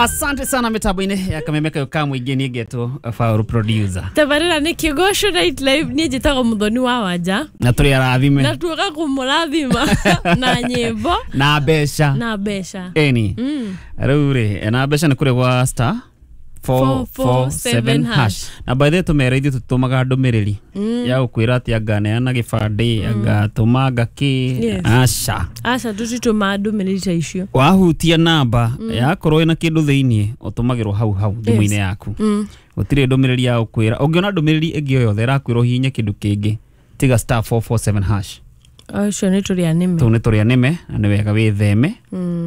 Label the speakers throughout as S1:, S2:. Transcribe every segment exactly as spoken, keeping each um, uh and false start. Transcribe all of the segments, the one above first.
S1: Asante sana mitambo-inĩ ya kameme kayo ka mũingĩ niĩ ngetwo Faulu producer.
S2: Tabarĩra nĩ Kĩgoco Night Live, niĩ njĩtagwo Mũthoni wa Wanja.
S1: Na tũrĩ arathime.
S2: Na tuoka kũmũrathima na nyĩmbo
S1: na mbeca.
S2: Na mbeca.
S1: Ĩni. Rĩu rĩ, na mbeca nĩ kũrĩ gwa star four four seven hash. Na by the way tũmere ithuĩ tũtũmaga ndũmĩrĩri ya gũkwĩra atĩ anga neana gĩbandĩ, anga tũma anga kĩ.
S2: Yes.
S1: Aca.
S2: Aca, tũtitũmaga ndũmĩrĩri ta icio.
S1: Wahutia namba yakorwo ĩna kĩndũ thĩiniĩ, ũtũmagĩrwo hau hau thimũ-inĩ yaku. Gũtirĩ ndũmĩrĩri ya gũkwĩra. Ũngĩona ndũmĩrĩri ĩngĩ o yothe ĩrakwĩra ũhihinye kĩndũ kĩngĩ, tiga star four four seven hash.
S2: Acio nĩ tũrĩ anĩme.
S1: Tũu nĩ tũrĩ anĩme, na nĩ wega wĩtheme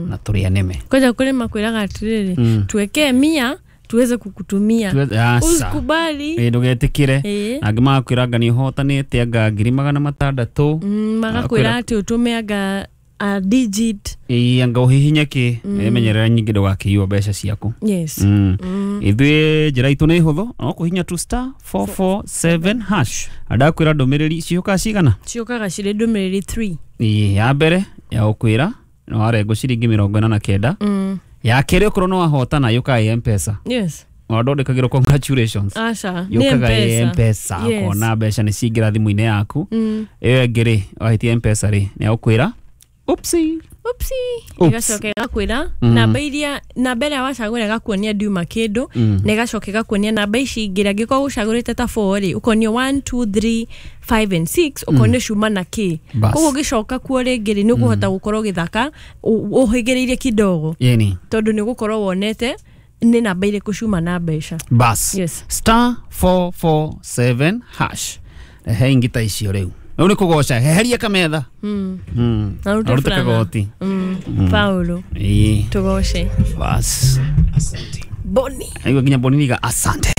S1: na tũrĩ anĩme.
S2: Kwanja kũrĩ makwĩraga atĩrĩrĩ, tuwekee mia tuweze kukutumia.
S1: Tuweze- aca.
S2: Usikubali.
S1: Ĩ, ndũgetĩkĩre.
S2: Ĩ.
S1: Angĩ magakwĩra anga nĩ ũhotanĩte anga ngiri magana matandatũ.
S2: Mm, magakwĩra atĩ ũtũme anga a digit.
S1: Ĩ, anga ũhihinye kĩ. Menyerera nyingĩ ndũgakĩiywo mbeca ciaku.
S2: Yes.
S1: Mm. Ithuĩ njĩra itũ nĩ hũthũ, no kũhihinya tu star four four seven hash. Andakwĩra ndũmĩrĩri ciũkaga cigana?
S2: Ciũkaga cirĩ ndũmĩrĩri three.
S1: Ĩ, ya mbere ya gũkwĩra nĩ warengwo ciringi mĩrongo ĩna na kenda.
S2: Mm.
S1: Ya kerĩ ũkorwo nĩ wahotana yũkaga ĩ M-Pesa.
S2: Yes.
S1: Wandondekagĩrwo congratulations.
S2: Aca, nĩ
S1: Yũkaga ĩ
S2: M-Pesa.
S1: M-Pesa,
S2: Yes.
S1: ũkona mbeca nĩ ciaingĩra thimũ-inĩ yaku.
S2: Mm.
S1: Ĩyo ĩngĩ rĩ, wahitia M-Pesa rĩ, nĩ agũkwĩra oopsie.
S2: Oopsie.
S1: Oops.
S2: Ĩgacoka ĩgakwĩra namba iria, namba ĩrĩa wacagũra ĩgakuonia ndiuma kĩndũ, na ĩgacoka ĩgakuonia namba ici ingĩ. Angĩkorwo ũcagũrĩte ta four rĩ, ũkonio one, two, three, five and six, ũkonio ciuma na kĩ.
S1: Bas.
S2: Koguo ũgĩcoka kuo rĩngĩ rĩ, nĩ ũkũhota gũkorwo ũgĩthaka ũ- ũhĩgĩrĩire kidogo,
S1: Yeni.
S2: tondũ nĩ ũgũkorwo wonete nĩ namba irĩkũ ciuma na mbeca.
S1: Bas.
S2: Yes.
S1: Star four four seven hash. He ingĩ ta icio rĩu. Rĩu nĩ kũgoca, heheria kametha.
S2: Mm.
S1: Mm.
S2: Na ũrute
S1: Na ũrute
S2: burana.
S1: kagoti.
S2: Mm. Paulo,
S1: Ĩ.
S2: tũgoce.
S1: Bas.
S2: Boni.
S1: Aigua nginya Boni niga asante.